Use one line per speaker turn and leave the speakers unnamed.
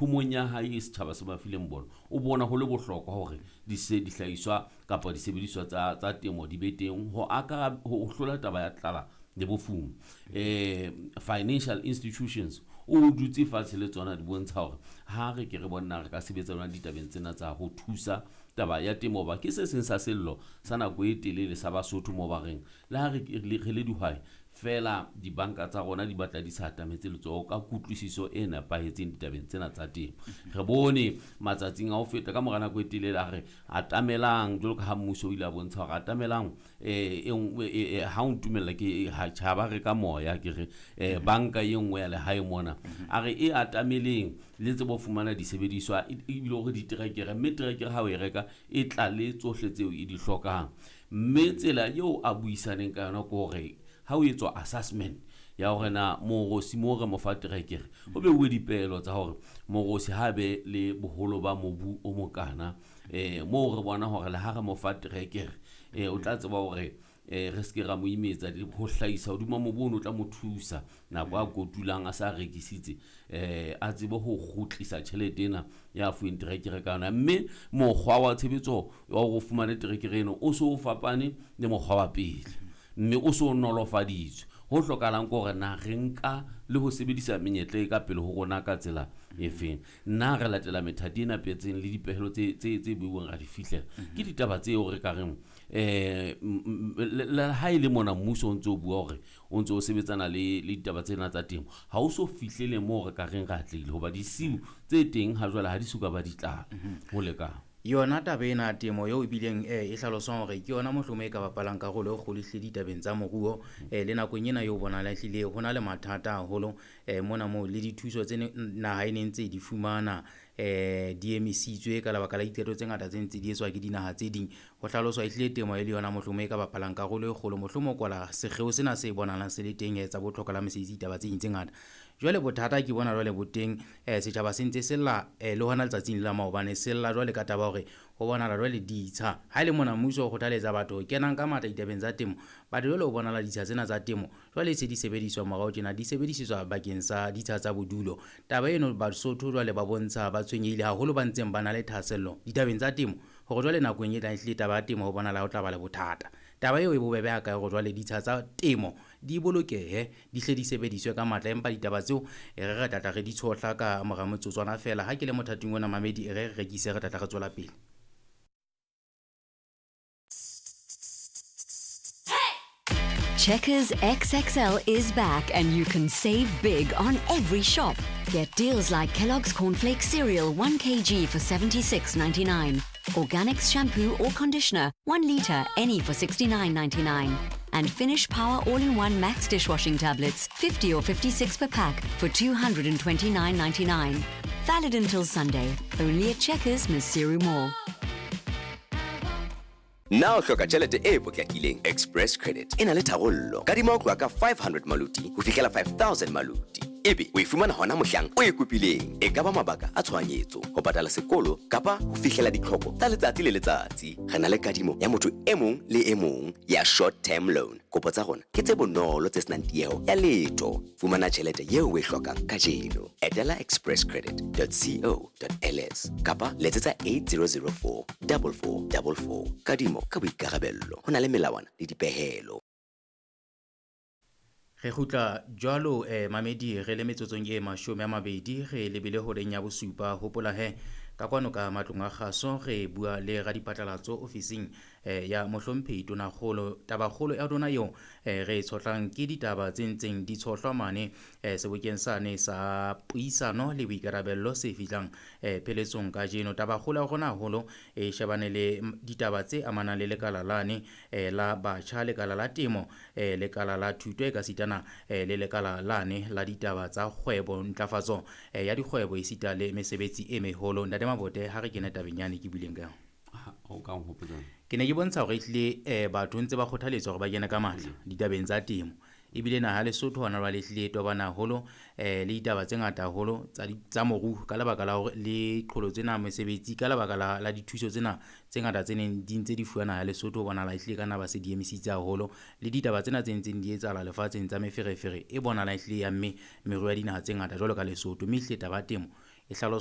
Thomong ya hae setjhaba se ba fileng bona, o bona ho le bohlokwa hore dihlahiswa kapa disebediswa tsa temo di be teng ho aka ho hlola taba ya tlala le bofuma. Financial institutions o dutse fatshe le tsona di bontsha hore ha re ke re bona re ka sebetsa jwang ditabeng tsena tsa ho thusa taba ya temo, ba ke se seng sa sello sa nako e telele sa Basotho mo ba reng le ha re le dihwai fela dibanka tsa rona di batla di sa atametse letsoho ka kutlwisiso e nepahetseng ditabeng tsena tsa temo. Re bone matsatsing a ho feta ka mora nako e telele a re atamelang jwalo ka ha mmuso o ile a bontsha hore atamelang ha o ntumella ke ha tjhaba re ka moya ke re banka e nngwe ya lehae mona a re e atameleng le tsebo fumana disebediswa ebile hore diterekere, mme terekere ha o e reka e tla le tsohle tseo e di hlokang. Mme tsela eo a buisaneng ka yona ke hore ha o etswa assessment ya hore na morosi mo re mo fa terekere, ho beuwe dipehelo tsa hore morosi ha be le boholo ba mobu o mokana, moo re bona hore le ha re mo fa terekere o tla tseba hore re se ke ra mo imetsa ho hlahisa hodima mobu ono, o tla mo thusa nako a kotulang a sa rekisitse, a tsebe ho kgutlisa tjhelete ena ya fuweng terekere ka yona. Mme mokgwa wa tshebetso wa hore o fumane terekere eno o so o fapane le mokgwa wa pele, mme o so nolofaditswe. Ho hlokahalang ke hore na re nka le ho sebedisa menyetla e ka pele ho rona ka tsela efeng, na re latela methati e nepahetseng le dipehelo tse beuweng ra di fihlela. Ke ditaba tseo re ka reng le ha e le mona mmuso o ntso o bua hore o ntso o sebetsana le ditaba tsena tsa temo, ha o so fihlele moo re ka reng re atlehile, hoba disiu tse teng ha jwale ha di soka ba di tlala ho lekana.
Yona taba ena ya temo eo ebileng e hlaloswang hore ke yona mohlomong e ka bapalang karolo e kgolo ehlile ditabeng tsa moruo, le nakong ena eo bonahala ehlile ho na le mathata haholo mona moo le dithuso tse naha e neng ntse di fumana di emisitswe ka lebaka la diqeto tse ngata tse ntse di etswa ke dinaha tse ding. Ho hlaloswa ehlile temo e le yona mohlomong e ka bapalang karolo e kgolo, mohlomong kwala sekgeo sena se bonahalang se le teng tsa botlhokwa la mesebetsi ditaba tse ding tse ngata. Jwale bothata ke bona jwale bo teng, setjhaba se ntse se lla le hona letsatsing la maobane se lla jwale ka taba hore ho bonahala jwale ditsha. Ha e le mona mmuso o kgothaletsa batho ho kenang ka matla ditabeng tsa temo, batho jwale ho bonahala ditsha tsena tsa temo jwale se di sebediswa morao tjena, di sebedisetswa bakeng sa ditsha tsa bodulo. Taba eno Basotho jwale ba bontsha ba tshwenyehile haholo, ba ntseng ba na le thahasello ditabeng tsa temo hore jwale nakong e tlang ehlile taba ya temo ho bonahala ho tla ba le bothata. Taba eo e bobebe ha kae hore jwale ditsha tsa temo di bolokehe, di hle di sebediswe ka matla, empa ditaba tseo e re re tlatla re di tshohla ka mora motsotswana fela. Ha ke le mothating ona mamedi, e re re rekise, re tlatla re tswela pele.
Checkers XXL is back and you can save big on every shop. Get deals like Kellogg's Cornflakes cereal 1 kg for $76.99, Organics shampoo or conditioner 1 litre any for $69.99, and Finish Power All-in-One Max dishwashing tablets 50 or 56 per pack for $229.99. Valid until Sunday, only at Checkers Maseru Mall.
Na o hloka tjhelete e potlakileng? Express Credit e na le tharollo. Kadima ho tloha ka 500 maluti ho fihlela 5000 maluti. Ebe o e fumana hona mohlang o e kopileng. E ka ba mabaka a tshohanyetso, ho patala sekolo kapa ho fihlela ditlhoko tsa letsatsi le letsatsi. Re na le kadimo ya motho e mong le e mong ya short term loan. Kopo tsa rona ke tse bonolo tse senang tieho ya letho. Fumana tjhelete eo o e hlokang kajeno. Etela expresscredit.co.ls kapa letsetsa 8004 4444. Kadimo ka boikarabello. Ho na le melawana le dipehelo.
Re kgutla jwalo mamedi re le metsotsong e 20 re lebile horeng ya bosupa. Hopola he ka kwano ka matlong a kgaso re bua le radiphatlalatso ofising ya mohlomphehi Tonakgolo. Tabakgolo ya rona eo re e tshohlang ke ditaba tse ntseng di tshohlwa mane sebokeng sane sa puisano le boikarabello se fihlang pheletsong kajeno. Tabakgolo ya rona haholo e shebane le ditaba tse amanang le lekala lane la batjha, lekala la temo, lekala la thuto e ka sitana le lekala lane la ditaba tsa kgwebo, ntlafatso ya dikgwebo esita le mesebetsi e meholo. Ntate Mabote, ha re kene tabeng yane ke buileng ka yona.
O ka nkgopotsa.
Ke ne ke bontsha hore ehlile batho ntse ba kgothaletswa hore ba kene ka matla ditabeng tsa temo. Ebile naha ya Lesotho hona jwale ehlile e tobana haholo le ditaba tse ngata haholo tsa moruo ka lebaka la hore le qholotso tsena mesebetsi, ka lebaka la dithuso tsena tse ngata tse neng di ntse di fuwa naha ya Lesotho, ho bonahala ehlile ka nna ba se di emisitse haholo. Le ditaba tsena tse ntseng di etsahala lefatsheng tsa meferefere e bonahala ehlile ya mme meruo ya dinaha tse ngata jwalo ka Lesotho. Mme ehlile taba ya temo e hlaloswa